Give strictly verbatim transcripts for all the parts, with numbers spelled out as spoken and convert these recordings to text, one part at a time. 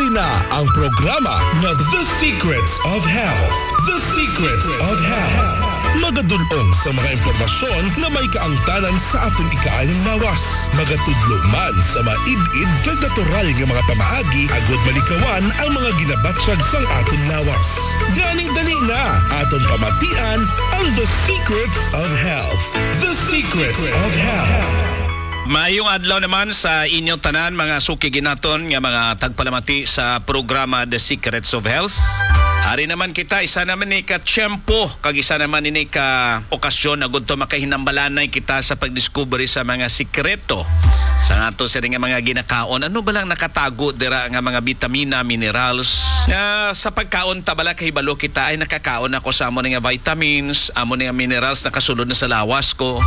Na ang programa nga The Secrets of Health. The Secrets of Health. Magadul-ong sa mga impormasyon nga may kaangtanan sa aton ikaayong lawas. Magatudlo man sa maid-id kag natural nga mga pamaagi agud malikawan ang mga ginabatyag sang aton lawas. Gani dali na, aton pamatian ang The Secrets of Health. The Secrets of Health. Maayong adlaw naman sa inyo tanan, mga suki ginaton nga mga tagpalamati sa programa The Secrets of Health. Ari naman kita, isa naman ni ka tiyempo, kag isa naman ini ka okasyon na gudto makahinambalanay kita sa pagdiskubre sa mga sikreto sa ato sini nga mga ginakaon. Ano ba lang nakatago dira nga mga bitamina, minerals? Nga sa pagkaon ta bala kahibalo kita ay nakakaon ako sa amo ni nga vitamins, amo ni nga minerals nakasulod na sa lawas ko.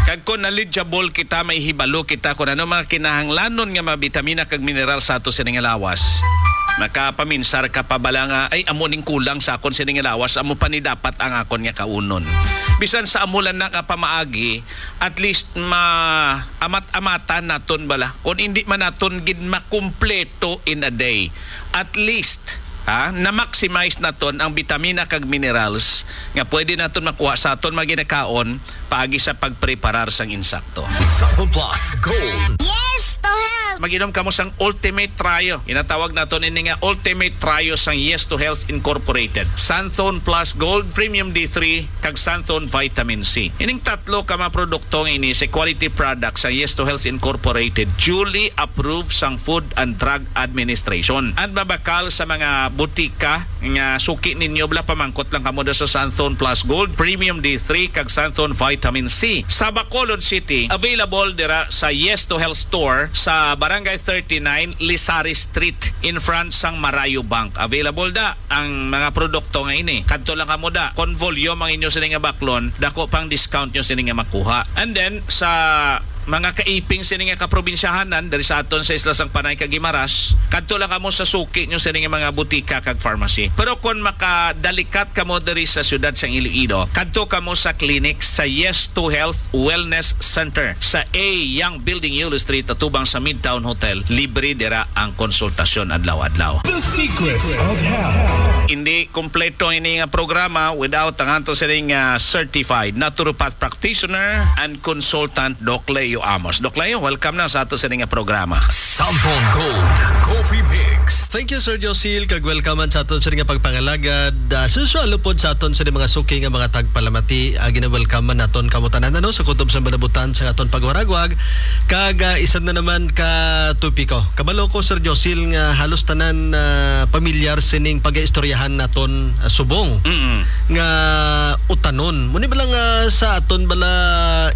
Kag kung knowledgeable kita, may hibalo kita kung ano mga kinahanglanon nga mga bitamina kag mineral sa ato sini nga lawas. Makapaminsar ka pa bala nga, "Ay, amo ning kulang sa akon sini nga lawas, amo pa ni dapat ang akon nga kaunon." Bisan sa amo lang na nga pamaagi, at least ma-amat-amatan naton bala. Kung hindi man naton gid makumpleto in a day, at least, ha, na-maximize naton ang bitamina kag minerals nga pwede naton makuha sa aton mga ginakaon paagi sa pagpreparar sang insakto. Santon Plus Gold. Yes to health! Mag-inom kamo sang Ultimate Trio. Ginatawag naton ini nga Ultimate Trio sang Yes to Health Incorporated. Santon Plus Gold, Premium D three, kag Santon Vitamin C. Ining tatlo ka mga produkto nga ini sa quality product sa Yes to Health Incorporated, duly approved sang Food and Drug Administration. At mabakal sa mga butika nga suki ninyo, bala, pamangkot lang kamo da sa Santon Plus Gold, Premium D three, kag Santon Vitamin C. Sa Bacolod City, available dira sa Yes to Health Store sa Barangay thirty-nine, Lizares Street, in front sang Marayo Bank. Available da ang mga produkto nga ini. Kadto lang kamo da. Kon volume ang inyo sini nga baklon, dako pang discount nyo sini nga makuha. And then, sa mga kaiping sini nga kaprobinsyahanan, diri sa aton sa Isla sang Panay kag Guimaras, kadto lang kamo sa suki nyo sini nga mga butika kag pharmacy. Pero kon makadalikat kamo diri sa siyudad sang Iloilo, kadto kamo sa clinic sa Yes to Health Wellness Center sa A Young Building, Yulo Street, atubang sa Midtown Hotel. Libre dira ang konsultasyon adlaw-adlaw. The Secrets of Health. Hindi kompleto ini nga programa without ang ato sining, ah, certified naturopath practitioner and consultant, Doc Leo Amos. Doc Leo, welcome na sa ato sining nga programa. Santon Gold Coffee Mix. Thank you, Sir Josil, kag welcome man sa aton sining nga pagpangalagad. Ah, sa usual, lupod sa aton sining mga suki nga mga tagpalamati, ah, gina-welcome man naton kamo tanan, ano, sa kutob sang balabutan sa aton pagwaragwag. Kag, ah, isa na naman ka topiko. Kabalo ko, Sir Josil, nga halos tanan, ah, pamilyar sining pag-istoryahan naton, ah, subong Mm-mm. nga utanon. Muni bala nga sa aton bala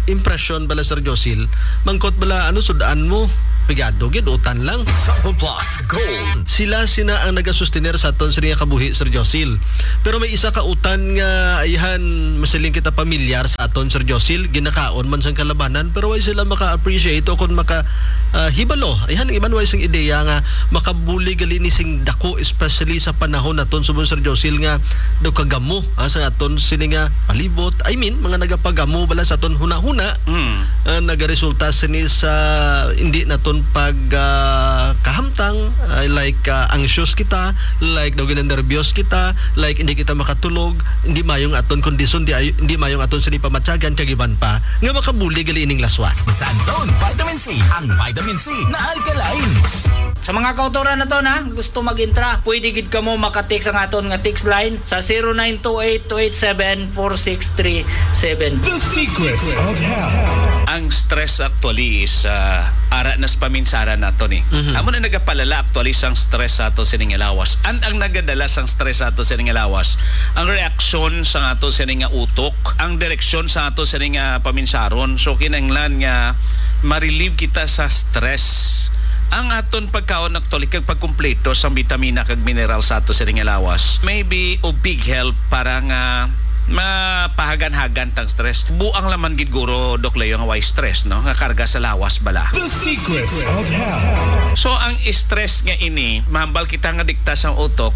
impresyon bala, Sir Josil, mangkot bala, ano sud-an mo? Pigado gid, utan lang. Santon Plus Gold. Sila sina ang nagasustener sa aton sini nga kabuhi, Sir Josil. Pero may isa ka utan nga ayhan masiling kita pamilyar sa aton, Sir Josil, ginakaon man sang kalabanan, pero way sila maka-appreciate o kon maka, ah, hibalo. Ayhan ang iban way sing ideya nga makabulig gali ni sing dako, especially sa panahon naton subong, Sir Josil, nga daw kagamo, ah, sa aton sini nga palibot. I mean, mga nagapagamo bala sa aton hunahuna, Mm. ah, nagaresulta sini sa hindi naton pag, ah, kahamtang, ah, like, ah, anxious kita, like daw ginanerbyos kita, like hindi kita makatulog, hindi mayo ang aton kondisyon, di ay, hindi mayo ang aton sini pamatyagan, kag iban pa nga makabulig gali ining laswa. Santon Vitamin C, ang vitamin C na alkaline. Sa mga kautoran naton, ha, gusto mag-intra, pwede gid kamo maka-text ang aton nga text line sa zero nine two eight two eight seven four six three seven. The Secrets of Health. Ang stress actually is, ah, ara na sa paminsaran nato ni. Mhm. Amo na nagapalala actually sang stress sa ato sining lawas. And ang nagadala sang stress sa ato sining lawas, ang reaksyon sa ato sining nga utok, ang direksyon sa ato sining nga paminsaron. So, kinahanglan nga ma-relieve kita sa stress. Ang aton pagkaon actually kag pagkumpleto sang bitamina kag mineral sa ato sining lawas may be of big help para nga mapahagan-hagan tang stress. Buang laman gid guro, Doc Leo, nga way stress, no? Nga karga sa lawas bala. The Secrets of Health. So, ang stress nga ini, mahambal kita nga dikta sang utok,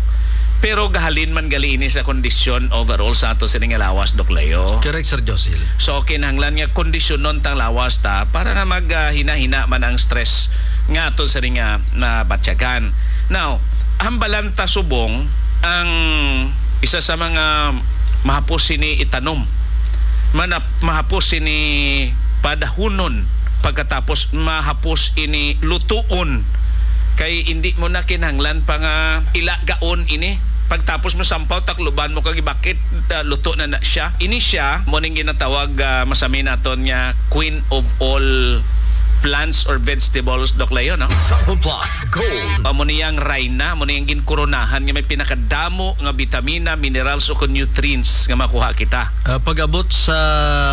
Pero gahalin man gali ini sa kondisyon overall sa ato sini nga lawas, Doc Leo. Correct, Sir Josil. So, kinahanglan nga kondisyonon tang lawas ta para nga mag, ah, hina-hina man ang stress nga ato sini nga nabatyagan. Now, hambalan ta subong ang isa sa mga mahapos sini itanom. Manap-, mahapos sini padahunon, pagkatapos mahapos ini lutuon. Kay indi mo na kinahanglan pa nga ilagaon ini. Pagtapos mo sampaw, takluban mo kag ibakit, ah, luto na na siya. Ini siya, mo ning ginatawag, ah, masami naton nga queen of all plants or vegetables, Doc Leo, no? Sample Plus Gold. Amo niyang rayna, amo niyang ginkoronahan nga may pinakadamo nga bitamina, minerals, o kon nutrients nga makuha kita. Ah, pag-abot sa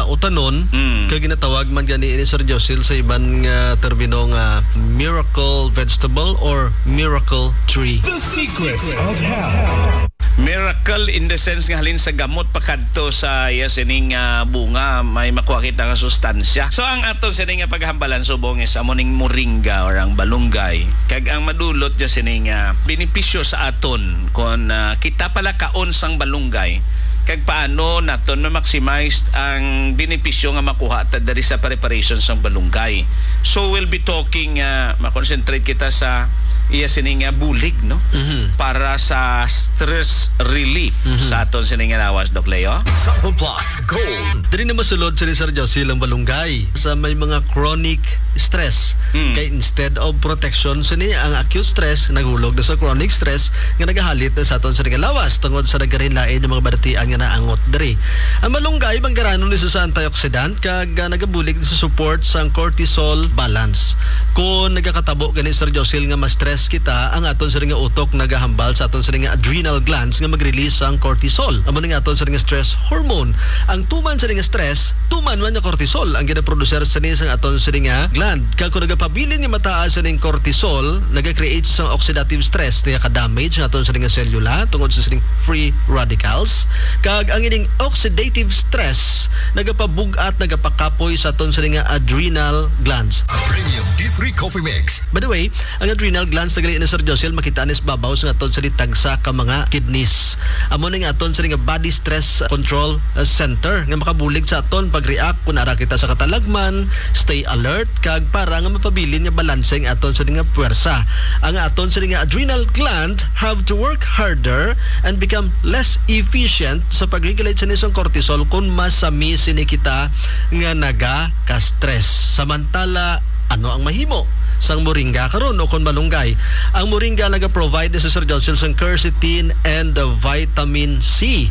utanon, Mm. kag ginatawag man gani ini, Sir Josil, sa iban nga termino nga miracle vegetable or miracle tree. The Secrets of Health. Miracle in the sense nga halin sa gamot pakadto sa iya sining, ah, bunga, may makuha kita nga sustansya. So, ang aton sining nga paghambalan subong is amo ning moringa or ang balunggay. Kag ang madulot dyan sining, ah, benepisyo sa aton kon, ah, kita pala kaon sang balunggay, kag paano naton ma-maximize ang benepisyo nga makuha ta diri sa preparation sang balunggay. So, we'll be talking, ah, ma-concentrate kita sa iya sini nga bulig, no? Mhm. Para sa stress relief Mhm. sa aton sini nga lawas, Doc Leo. Sample Plus Gold. Diri na masulod sini, Sir Josil, ang balunggay sa may mga chronic stress. Mm. Kay instead of protection sini, ang acute stress naghulog na sa chronic stress nga nagahalit na sa aton sini nga lawas tungod sa nagkalain-lain nga mga balatian nga naangot diri. Ang malunggay, manggaranon ni sa antioxidant kag, ah, nagabulig sa support sang cortisol balance. Kung nagakatabo gani, Sir Josil, nga ma-stress kita, ang aton sini nga utok nagahambal sa aton sini nga adrenal glands nga mag-release sang cortisol. Amo ni nga aton sini nga stress hormone. Ang tuman sini nga stress, tuman man nga cortisol ang ginaproducer sini sang aton sini nga gland. Kag kung nagapabilin nga mataas sining cortisol, naga-create sang oxidative stress, nagaka-damage ang aton sini nga selula tungod sa sining free radicals. Kag ang ining oxidative stress nagapabug-at, nagapakapoy sa aton sini nga adrenal glands. Premium D three Coffee Mix. By the way, ang adrenal glands na gali ni Sir Josil makita ni sa babaw sa aton sini tagsa ka mga kidneys. Amo ni nga aton sini nga body stress control, uh, center nga makabulig sa aton pag-react kung ara kita sa katalagman, stay alert, kag para nga mapabilin nga balanse ang aton sini nga puwersa. Ang aton sini nga adrenal gland have to work harder and become less efficient sa pag-regulate sa nisong cortisol kung masami sini kita nga naga ka-stress. Samantala, ano ang mahimo sang moringa karon o kon malunggay? Ang moringa naga-provide ni Sir Josil sang quercetin and the vitamin C.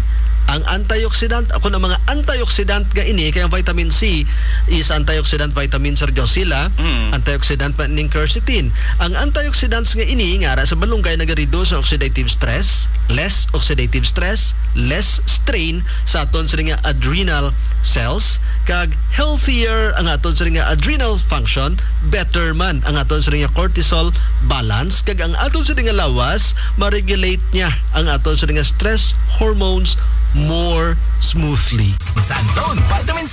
Ang antioxidant, o kon ang mga antioxidant nga ini, kay ang vitamin C is antioxidant vitamin, Sir Josil, ah. Mm. Antioxidant pa ning quercetin. Ang antioxidants nga ini, nga ara sa malunggay, nagareduce sa oxidative stress, less oxidative stress, less strain sa aton sini nga adrenal cells, kag healthier ang aton sini nga adrenal function, better man ang aton sini nga cortisol balance, kag ang aton sini nga lawas, ma-regulate niya ang aton sini nga stress hormones more smoothly. Sa Zone Vitamins